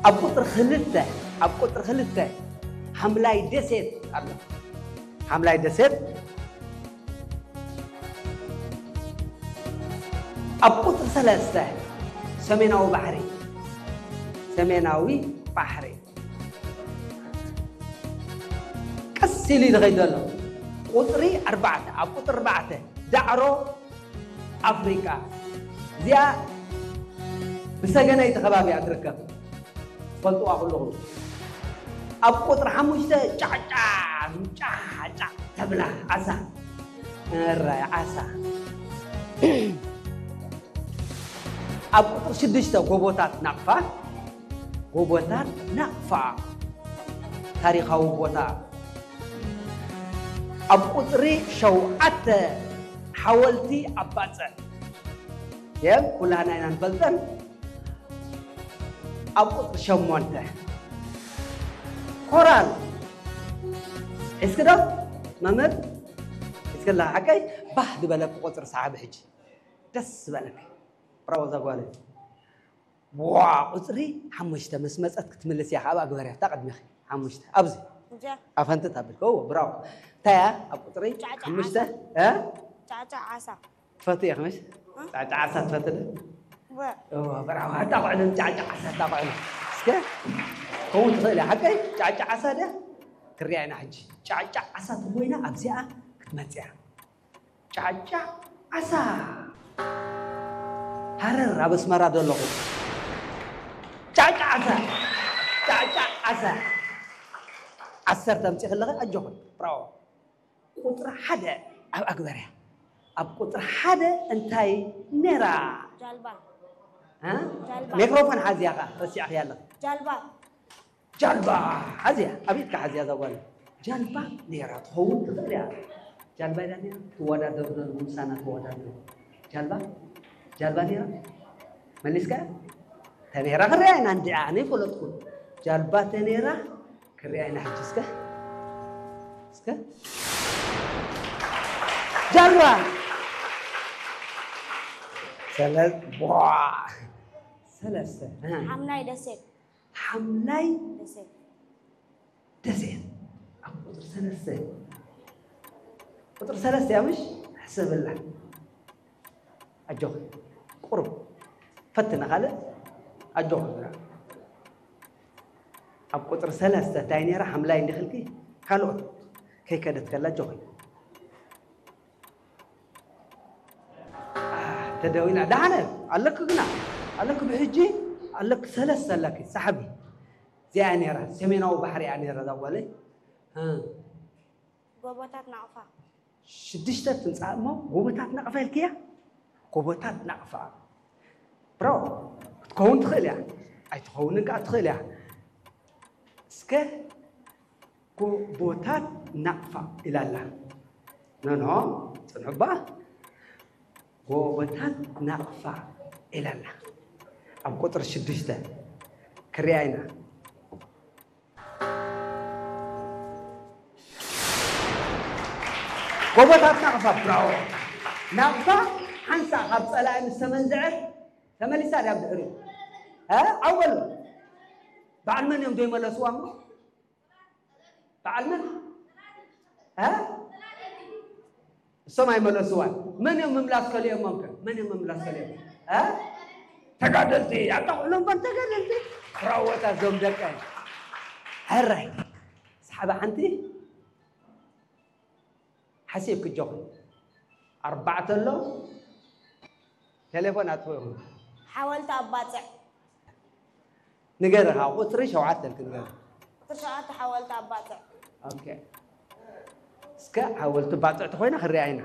ኣብ ቁፅሪ ክልተ ኣብ ቁፅሪ ክልተ ሓምላይ ደሴት ኣሎ። ሓምላይ ደሴት። ኣብ ቁፅሪ ሰለስተ ሰሜናዊ ባሕሪ። ሰሜናዊ ባሕሪ። ቀስ ኢሉ ዝኸይድ ዘሎ። ቁፅሪ ኣርባዕተ ኣብ ቁፅሪ ኣርባዕተ ዳዕሮ ኣፍሪቃ። እዚኣ ብሰገነይቲ ከባቢ እያ ትርከብ። ትፈልጥዋ ኩልኹም። ኣብ ቁፅሪ ሓሙሽተ ጫዕጫ ጫዕጫ ተብላ ዓሳ። እራይ ዓሳ። ኣብ ቁፅሪ ሽዱሽተ ጎቦታት ናቕፋ። ጎቦታት ናቕፋ ታሪኻዊ ቦታ። ኣብ ቁፅሪ ሸውዓተ ሓወልቲ ኣባፅዕ። የም ኩላና ኢና ንፈልጠን። ኣብ ቁፅሪ ሸሞንተ ኮራል። ሒዝኪ ዶ መምህር? ሒዝክላ ሓቀይ? ባህ ዝበለ ቁፅሪ ሰሓቢ ሕጂ። ደስ ዝበለኪ። ብራቮ እዛ ጓል። ዋ ቁፅሪ ሓሙሽተ ምስ መፀት ክትምልስ እያ። ካብ ኣግበርያ እታ ቅድሚኺ ሓሙሽተ ኣብዚ እዚኣ ኣፈንትት ኣብል። ኦ ብራቮ። እንታይ እያ ኣብ ቁፅሪ ጫዕጫ ሓሙሽተ? ዓሳ። እ? ጫዕጫ ዓሳ። ትፈትው ኢኺ ምሽ? እ? ጫዕጫ ዓሳ ትፈትው ዶ? ወ- ኦ ብራቮ። ኣታ ቆዕሉ ጫዕጫ ዓሳ ኣታ ቆዕሉ። እስከ ከውን ትኽእል እያ ሓቀይ? ጫዕጫ ዓሳ ድያ? ክሪኣ ኢና ሕጂ። ጫዕጫ ዓሳ ተኮይና ኣብዚኣ ክትመፅያ። ጫጫ ዓሳ። ሃረር ኣብ ኣስመራ ዶ ኣለኹ? ጫጫ ዓሳ። ጫጫ ዓሳ። ዓሰርተ ኣምፂእ ከለኺ ኣጆኺ። ብራቮ። ቁፅሪ ሓደ ኣብ ኣግበርያ። ኣብ ቁፅሪ ሓደ እንታይ ነይራ? ጃልባ። እ? ጃልባ። ሜክሮፎን ሓዝያ ኸዓ ረሲዕኽያ ኣለኺ። ጃልባ። ጃልባ ሓዝያ፣ ኣብ ኢድካ ሓዝያ እዛ ጓል። ጃልባ ነይራ ትኸውን ትኽእል እያ። ጃልባ ኢላ ነይራ ትወዳደር ዶ? ምሳና ትወዳደር። ጃልባ? ጃልባ ነይራ? መሊስካ? ተነይራ ክሪኣ ኢና እንዲኣ፣ ኣነ ይፈለጥኩ። ጃልባ ተነይራ ክሪኣ ኢና ሕጂ እስከ። እስከ። ጃልባ! ሰለ-፣ ቧ! ሰለስተ። ኣሃ። ሓምላይ ደሴት። ሓምላይ ደሴት። ደሴት ኣብ ቁፅሪ ሰለስተ። ቁፅሪ ሰለስተ እያ ምሽ? ሕሰብላ። ኣጆኺ። ቁሩብ ፈትና ካልእ። ኣጆኺ ግራ። ኣብ ቁፅሪ ሰለስተ እንታይ ነይራ? ሓምላይ እንዲኽልኪ ካልኦት ከይከደት ከላ ኣጆኺ። ተደዊና። ደሓነ ኣለኪ ግና፣ ኣለኪ ብሕጂ፣ ኣለኪ ሰለስተ ኣለኪ። ሰሓቢ። እዚኣ እያ ነይራ፣ ሰሜናዊ ባሕሪ እያ ነይራ እዛ ጓለይ። እ። ጎቦታት ናቕፋ። ሽዱሽተ ትምጻእ እሞ፣ ጎቦታት ናቕፋ ኢልክያ? ጎቦታት ናቕፋ። ብራቮ። ክትከውን ትኽእል እያ። ኣይትኸውንን ከኣ ትኽእል እያ። እስከ ጎቦታት ናቕፋ ኢላ ኣላ። ኖ፣ ኖ፣ ጽንሑ እባ። ጎቦታት ናቕፋ ኢላ ኣላ። ኣብ ቁጽሪ ሽዱሽተ ክሪኣ ኢና። ጎቦታት ናቕፋ፣ ብራቮ። ናቕፋ ሓንሳእ ካብ ጸላኢ ምስ ተመንዝዐት ተመሊሳ ድያ ብድሕሪኡ? እ? ዓው በሉ። በዓል መን እዮም ዘይመለስዋ እሞ? በዓል መን? እ? እሶም ኣይመለስዋን። መን እዮም ምምላስ ከሊኦሞም ከ? መን እዮም ምምላስ ከሊኦም? እ? ተጋደልቲ፣ ኣጣቕዕሎም እኳ ተጋደልቲ። ብራቮታት እዞም ደቀይ። ሕራይ። ሰሓቢ ሓንቲ። ሓሲብኪ ኣጆኺ። ኣርባዕተ ኣሎ። ቴሌፎን ኣጥፍኡ ኢኹም። ሓወልቲ ኣባጽዕ። ንገሪ፣ ካብ ቁጽሪ ሸውዓተ ኢልኪ ንገሪ። ቁጽሪ ሸውዓተ ሓወልቲ ኣባጽዕ። ኦኬ። እስከ ሓወልቲ ባጽዕ ተኾይና ክሪኣ ኢና።